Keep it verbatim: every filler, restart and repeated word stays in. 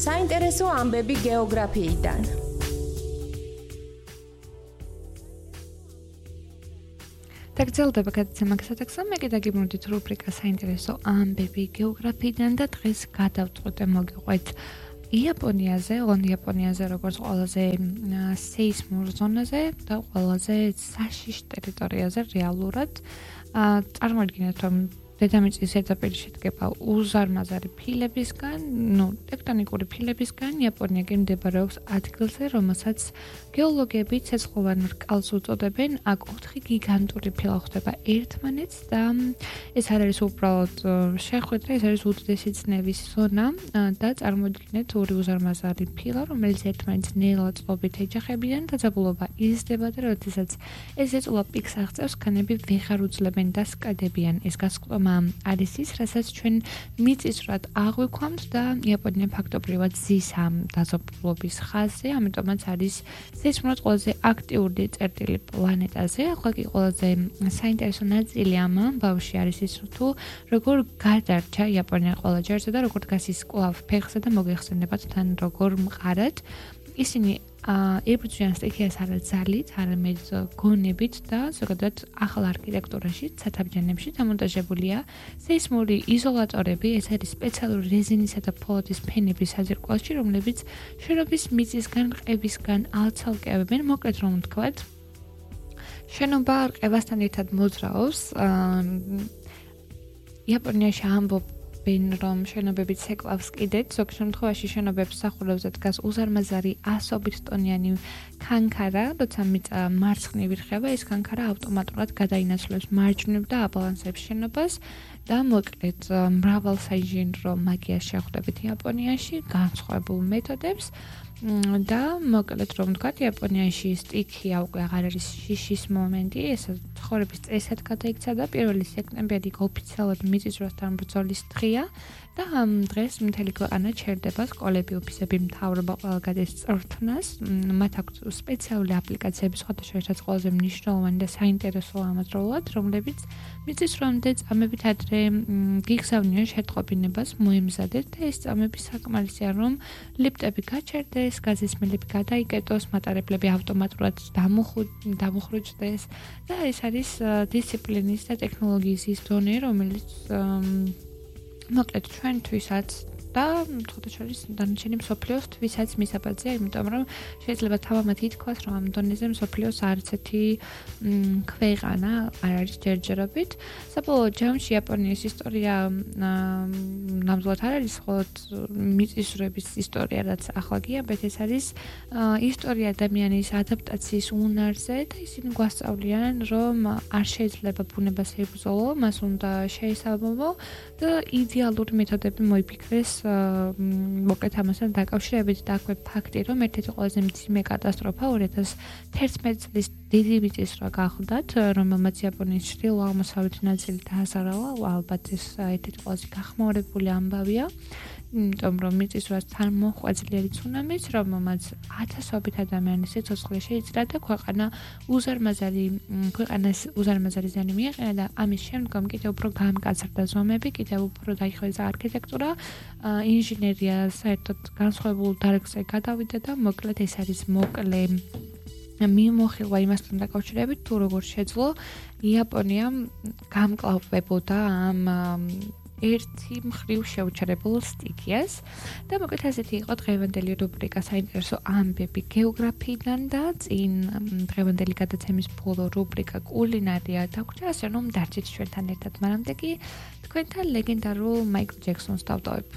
საინტერესო ამბები გეოგრაფიიდან. დაგრძელდება გადაცემა გასათექსა, მე კიდე გიმოდით რუბრიკა საინტერესო ამბები გეოგრაფიიდან და დღეს გადავწყვეტ მოგიყვეთ იაპონიაზე, ოღონდ იაპონიაზე როგორც ყველაზე სეისმურ ზონაზე და ყველაზე საშიშ ტერიტორიაზე რეალურად. წარმოიდგინეთ, რომ დედამიწის ზედაპირი შედგება უზარმაზარი ფილებისგან, ნუ ტექტონიკური ფილებისგან, იაპონია კი მდებარეობს ადგილზე, რომელსაც გეოლოგები ცეცხლოვან რკალს უწოდებენ. აქ ოთხი გიგანტური ფილა ხვდება ერთმანეთს და ეს არ არის უბრალოდ შეხვედრა, ეს არის უდიდესი წნევის ზონა და წარმოიდგინეთ ორი უზარმაზარი ფილა, რომელიც ერთმანეთს ნელა წყობით ეჯახებიან და დაძაბულობა იზრდება და როდესაც ეს ეწოლა პიკს აღწევს, ქანები ვეღარ უძლებენ და სკადებიან. ეს გასკვდომა არის ის, რასაც ჩვენ მიწისძვრად აღვიქვამთ და იაპონია ფაქტობრივად ზის ამ დაზაბულობის ხაზზე, ამიტომაც არის სეისმურად ყველაზე აქტიური წერტილი პლანეტაზე. ახლა კი ყველაზე საინტერესო ნაწილი ამ ამბავში არის ის, თუ როგორ გადარჩა იაპონია ყველა ჯერზე და როგორ დგას ის კვლავ ფეხზე და მოგეხსენებათ თან როგორ მყარად. ისინი იბრძვიან სტიქიას არა ძალით, არამედ გონებით და ზოგადად ახალ არქიტექტურაში, ცათამბჯენებში დამონტაჟებულია სეისმური იზოლატორები, ეს არის სპეციალური რეზინისა და ფოლადის ფენების საძირკველში, რომლებიც შენობის მიწისგან, ყებისგან ალცალკევებენ. მოკლედ რომ ვთქვათ, შენობა ყევასთან ერთად მოძრაობს. იაპონიაში ამბობ რომ შენობები ცეკვავს კიდეთ, ზოგ შემთხვევაში შენობებს სახურავზე დგას უზარმაზარი ასობით ტონიანი ქანქარა, როცა მიწა მარცხნივ ირხება, ეს ქანქარა ავტომატურად გადაინაცვლებს მარჯვნივ და აბალანსებს შენობას და მოკლედ მრავალ საინჟინრო მაგიას შეხვდებით იაპონიაში, განსხვავებულ მეთოდებს და მოკლედ რომ ვთქვათ, იაპონიაში სტიქია უკვე აღარ არის შიშის მომენტი, ეს ცხოვრების წესად გადაიქცა და პირველი სექტემბერი ოფიციალურად მიწისძვრასთან ბრძოლის დღეა და ამ დღეს მთელი ქვეყანა ჩერდება, სკოლები, ოფისები, მთავრობა ყველა გადის წრთნას. მათ აქვთ სპეციალური აპლიკაციები, სხვადასხვა ყველაზე მნიშვნელოვანი და საინტერესო ამაზროულად, რომლებიც მიწისძვრამდე წამებით ადრე გიგზავნიან შეტყობინებას მოემზადეთ და ეს წამები საკმარისია, რომ ლიფტები გაჩერდეს, გაზის მილები გადაიკეტოს, მატარებლები ავტომატურად დამუხრუჭდეს და ეს არის დისციპლინის და ტექნოლოგიის ის დონე, რომელიც მოკლედ ჩვენთვისაც და თვითონ დანარჩენი მსოფლიოსთვისაც მისაბაძია, იმიტომ რომ შეიძლება თავამად ითქვას, რომ ამ დონეზე მსოფლიოს არც ერთი ქვეყანა არ არის ჯერჯერობით. საბოლოო ჯამში იაპონიის ისტორია ნამდვილად არ არის მხოლოდ მიწისძვრების ისტორია, რაც ახლა გიამბეთ, ეს არის ისტორია ადამიანის ადაპტაციის უნარზე და ისინი გვასწავლიან, რომ არ შეიძლება ბუნებას ებრძოლო, მას უნდა შეესაბამო და იდეალური მეთოდები მოიფიქრეს მოკლედ ამასთან დაკავშირებით და აქვე ფაქტი, რომ ერთ-ერთი ყველაზე მძიმე კატასტროფა ორი ათას თერთმეტი წლის დიდი მიწისძვრა გახდათ, რომელმაც იაპონიის ჩრდილო-აღმოსავლეთი ნაწილი დააზარალა, ალბათ ეს ერთ-ერთი ყველაზე გახმაურებული ამბავია. იმიტომ რომ მიწისძვრას თან მოჰყვა ძლიერი ცუნამიც, რომელმაც ათასობით ადამიანის სიცოცხლე შეიძრა და ქვეყანა უზარმაზარი ქვეყანას უზარმაზარი ზიანი მიაყენა და ამის შემდგომ კიდევ უფრო გამკაცრდა ზომები, კიდევ უფრო დაიხვეწა არქიტექტურა, ინჟინერია საერთოდ განსხვავებულ დარგზე გადავიდა და მოკლედ ეს არის მოკლე მიმოხილვა იმასთან დაკავშირებით, თუ როგორ შეძლო იაპონიამ გამკლავებოდა ამ ერთი მხრივ შეუჩერებულ სტიქიას და მოკლედ ასეთი იყო დღევანდელი რუბრიკა საინტერესო ამბები გეოგრაფიიდან და წინ დღევანდელი გადაცემის ბოლო რუბრიკა კულინარია დაგვჭირა, ასე რომ დარჩით ჩვენთან ერთად, მანამდე კი თქვენთან ლეგენდარულ მაიკლ ჯექსონს დავტოვებ.